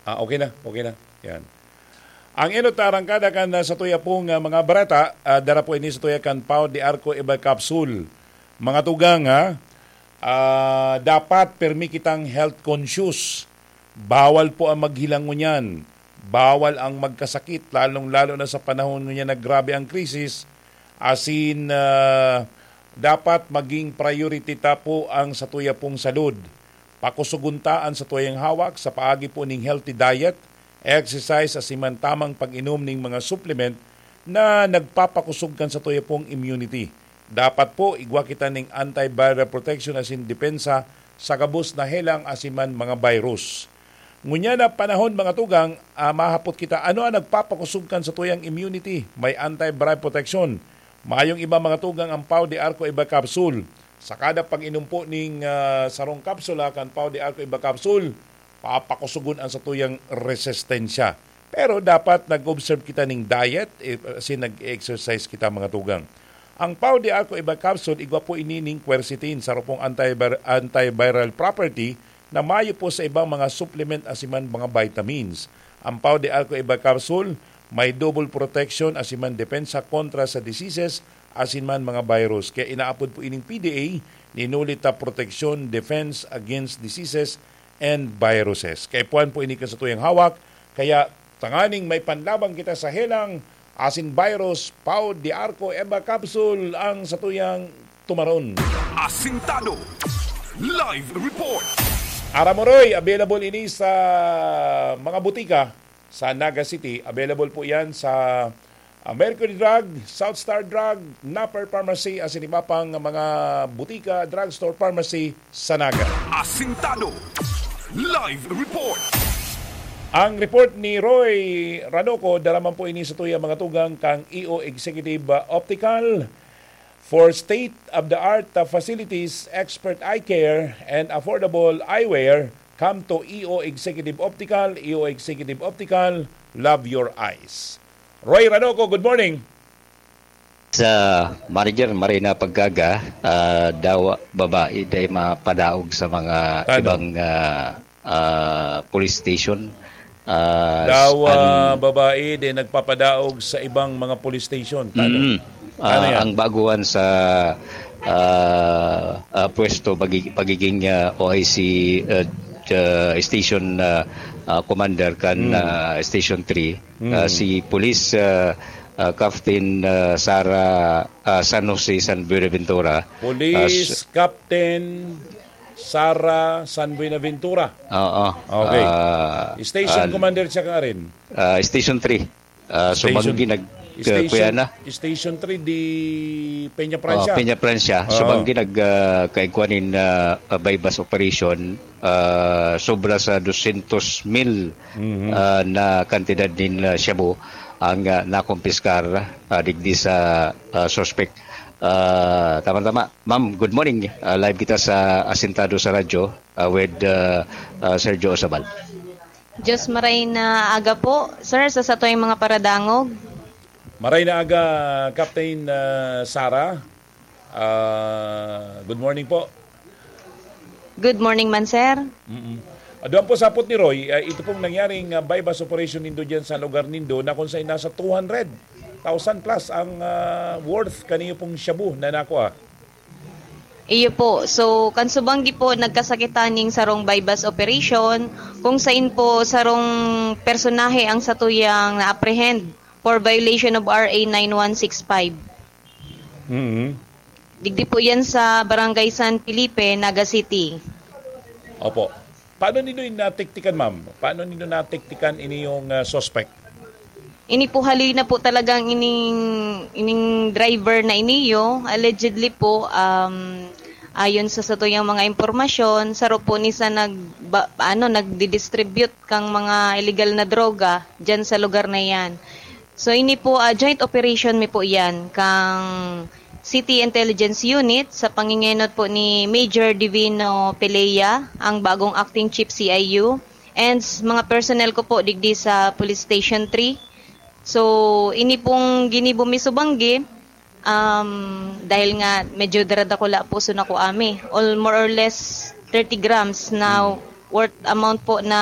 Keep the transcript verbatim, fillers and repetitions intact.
Ah, okay na, okay na. Yan. Ang enot na arangkada kan, ah, satuya pong, ah, mga bareta, ah, dara po ini satuya kan Pau de Arco Eba Capsule. Mga tugang, ha? Ah, dapat permi kitang health conscious. Bawal po ang maghilang ngunyan. Bawal ang magkasakit, lalong-lalo na sa panahon ngunyan na grabe ang krisis. Asin, ah, dapat maging priority ta po ang satuya pong salud. Pakusugon ta an satuyang hawak sa paagi po ning healthy diet, exercise, asin man tamang pag-inom ning mga supplement na nagpapakusog kan satuya pong immunity. Dapat po, igwa kita ning antiviral protection asin depensa sa gabos na helang asin man mga virus. Ngunyan na panahon, mga tugang, ah, mahapot kita, ano ang nagpapakusog kan satuyang immunity? May antiviral protection. Mayong iba, mga tugang, ang Pau de Arco Iba Capsule. Sa kada pag-inom po ning, ah, sarong kapsula kan Pau de Arco Iba Capsule, papakusugon ang satuyang resistensya. Pero dapat nag-observe kita ning diet, eh, asin nag-exercise kita, mga tugang. Ang Pau de Arco Iba Capsule, igwa po ini ning quercetin, saro pong antivar-, antiviral property na mayo po sa ibang mga supplement asin man mga vitamins. Ang Pau de Arco Iba Capsule may double protection asin man depensa kontra sa diseases asin man mga virus. Kaya inaapod po ining P D A, Ninulita Protection, Defense Against Diseases and Viruses. Kaipuhan po ini kan satuyang hawak, kaya tanganing may panlaban kita sa helang asin virus, Pau de Arco Eba Capsule ang satuyang tumaron. Asintado. Live report. Aramoroy, available ini sa mga butika sa Naga City. Available po yan sa, ah, Mercury Drug, South Star Drug, Napper Pharmacy, asin iba pang mga butika, drugstore, pharmacy sa Naga. Asintado. Live report. Ang report ni Roy Ranoco, dara man po ini sa tuya mga tugang kang E O Executive, ah, Optical. For state-of-the-art, ah, facilities, expert eye care, and affordable eyewear, come to E O Executive Optical. E O Executive Optical, love your eyes. Roy Ranoco, good morning. Sa manager, maray na pag-aga, ah, dawa babae dai mapadaog sa mga Tano? ibang, ah, ah, police station. Ah, Dawa an- babae dai nagpapadaog sa ibang mga police station. Tano? Mm. Tano Ah, yan? ang baguhan sa, ah, ah, pwesto, pagi-, pagiging, ah, O I C, ah, ah, station, ah, ah, commander kan, Mm. ah, Station three, Mm. ah, si Police, ah, ah, Captain, ah, Sara, ah, San Jose San Buenaventura. Police Ah, s- Captain Sara San Buenaventura. Oo. Okay. Ah, Station ah, commander siya ka rin? ah, Station three. Ah, so Station, banggi nag-, Station, kuya na? Station three di Peña Oh, Francia. Peña Francia. So Oo. banggi nag, ah, kaigwa nin, ah, ah, buy-bust operation, ah, sobra sa dosyentos mil, Mhm. ah, na kantidad nin, ah, shabu ang, ah, nakumpiskar, ah, digdi sa, ah, suspek. Ah, tama-tama. Ma'am, good morning. Ah, live kita sa Asintado sa Radyo, ah, with, ah, ah, Sergio Osabal. Diyos maray na aga po, sir, sa satoy mga paradangog. Maray na aga, Captain, ah, Sara. Ah, good morning po. Good morning man, sir. Mm-mm. Ah, duman po sa hapot ni Roy, ah, ito pong nangyaring, ah, buy-bust operation nindo dyan sa lugar nindo na kung saan nasa two hundred thousand plus ang, ah, worth kaniyo pong shabu na nakuha. Iyo po. So, kan subanggi po, nagkasakitan ning sarong buy-bust operation, kung sain po sarong personahe ang satuyang na-apprehend for violation of R A nine one six five. Mm-hmm. Digdi po yan sa Barangay San Felipe, Naga City. Opo. Paano nindo natiktikan, ma'am? Paano nindo natiktikan ini yung, ah, suspect? Ini po haloy na po talagang ining, ining driver na iniyo. Allegedly po, um, ayon sa satuyang mga impormasyon, saro po ni sa nag-, ba-, ano, nagdi-distribute kang mga illegal na droga dyan sa lugar na yan. So, ini po, ah, joint operation mi po iyan kang City Intelligence Unit sa pangingenot po ni Major Divino Peleya, ang bagong acting chief C I U, and s-, mga personnel ko po digdi sa Police Station three. So, ini pong ginibo mi subanggi, um, dahil nga medyo daradakula po so nakuha mi. All more or less thirty grams na Hmm. worth amount po na